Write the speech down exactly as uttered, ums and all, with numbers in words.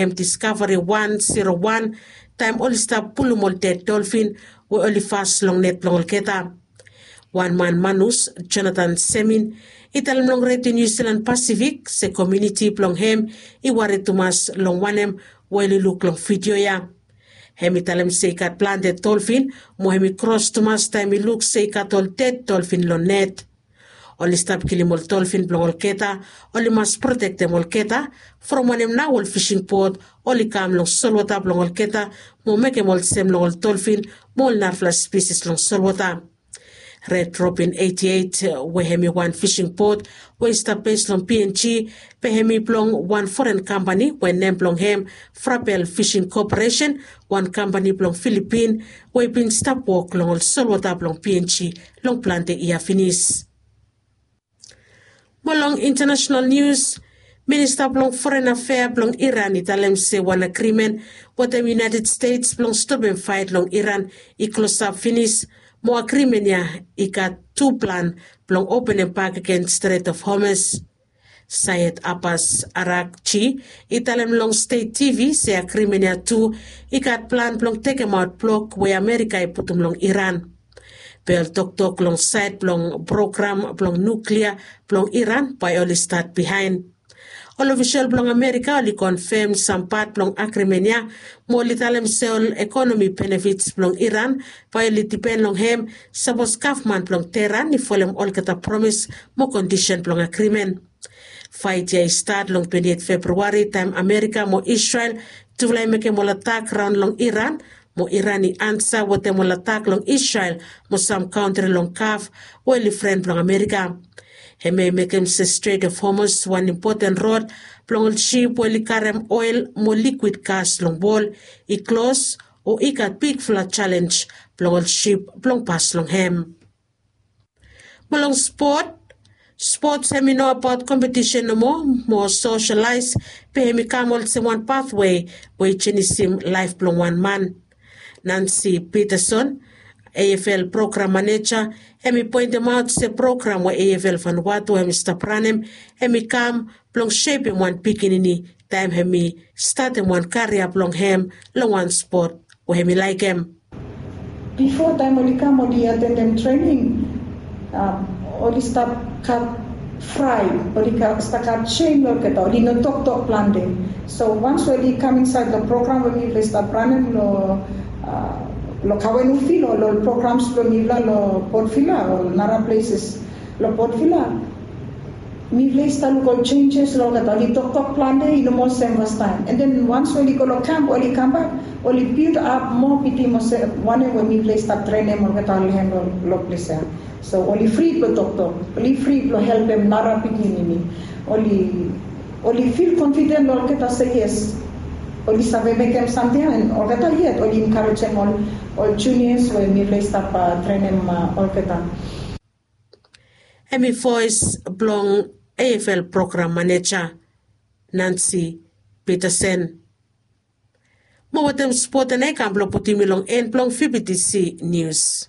hem Discovery wan zero wan taem oli stap pulum ol ded dolfin we oli fas long net blong olgeta. Wan man manus, Jonathan Semin, i talem long Redio Niu Silan Pasifik se komuniti blong hem i wari tumas long wanem we oli luk long vidio ya. Hem i talem se i gat plante dolfin mo hem i kros tumas taem i luk se i gat ol ded dolfin long net. Oli stap kilim ol dolfin blong olgeta, oli mas protektem olgeta from wanem nao ol fising bot oli kam long solwota blong olgeta mo mekem olsem long ol dolfin mo ol narafala spisis long solwota. Red Robin eighty eight we hem i wan fising bot we i stap bes long PNG, be hem i blong wan foren kampani we nem blong hem Frapel Fishing Corporation, wan kampani blong Filipin we i bin stap wok long ol solwota blong PNG long plante yia finis. Mo long international news, Minista blong Foreign Affair blong Iran i talem se wan agrimen wetem United States blong stopem faet long Iran i klosap finis, mo agrimen ya i gat tu plan blong openem bak agen Strait of Hormuz. Syed Abbas Araghchi i talem long State TV se agrimen ya tu i gat plan blong tekemaot blok we Amerika i putum long Iran. Be ol toktok long saed blong program blong nuklia blong Iran bae oli stat bihaen. Ol ofisol blong Amerika oli konfem sam pat blong agrimen ya, mo oli talem se ol ekonomi benefits blong Iran bae oli dipen long hem sapos gavman blong Teheran i folem olgeta promis mo kondisen blong agrimen. Faet ya i stat long twenti et Febrauari taem Amerika mo Isrel tufala i mekem ol atak raon long Iran, mo Iran i ansa wetem ol atak long Isrel mo sam kantri long Gaf we oli fren blong Amerika. Hem ya i mekem se Strait of Hormuz wan impoten rod blong ol sip we oli karem oel mo likwid gas long wol i klos, o i gat bigfala jalenj blong ol sip blong pas long hem. Mo long spot, spots hem i no abaot kompetisen nomo, mo soselaes, be hem i kam olsem wan patwe we i jenisim laef blong wan man. Nancy Peterson, AFL program maneja, hem i poentemaot se program we AFL Vanuatu hem i stap ranem, hem i kam blong sepem wan pikinini taem hem i statem wan karia blong hem long wan spot we hem i laekem. Bifo taem oli kam oli atendem trening, oli stap gat fraet, oli stap gat sem long olgeta, oli no toktok plante. So wans we oli kam insaed long program we mifala i stap ranem long Kawen Ufil o long ol programs blong mifala long Port Vila o nara pleses long Port Vila, mifala i stap luk ol jenjes long olgeta, oli toktok plante, i no moa sem fastaem. And then wans we oli go long kamp, oli kambak, oli bild ap moa bitim olsem wanem we mifala i stap trenem olgeta long hem long ples ya. So oli fri blong toktok, oli fri blong helpem nara pikinini. Oli oli fil konfiden long olgeta se yes, oli save mekem samting ya, and olgeta yet oli enkarejem ol junias we mifala i stap trenem olgeta. Hem i voes blong AFL program maneja, Nancy Peterson. Mo wetem spot ya i kam blong putum mi long en blong VBTC News.